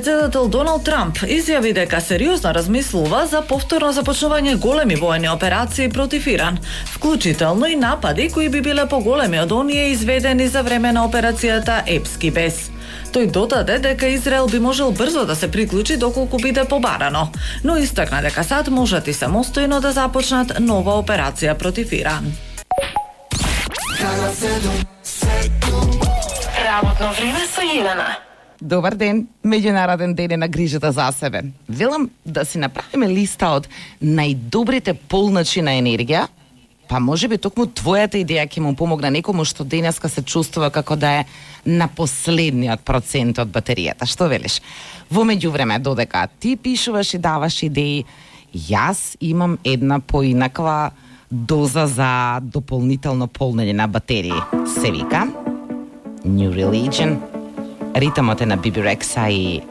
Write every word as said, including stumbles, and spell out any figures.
Председател Доналд Трамп изјави дека сериозно размислува за повторно започнување големи воени операции против Иран, вклучително и напади кои би биле поголеми од оние изведени за време на операцијата Епски бес. Тој додаде дека Израел би можел брзо да се приклучи доколку биде побарано, но истакна дека САД можат и самостојно да започнат нова операција против Иран. Работно време со Елена. Добар ден, меѓународен ден е на грижата за себе. Велам да си направиме листа од најдобрите полночи на енергија, па може би токму твојата идеја ќе му помогне некому што денеска се чувствува како да е на последниот процент од батеријата. Што велиш? Во меѓувреме, додека ти пишуваш и даваш идеи, јас имам една поинаква доза за дополнително полнење на батерии. Се вика New Religion. Ритамот е на Би Би Рекса и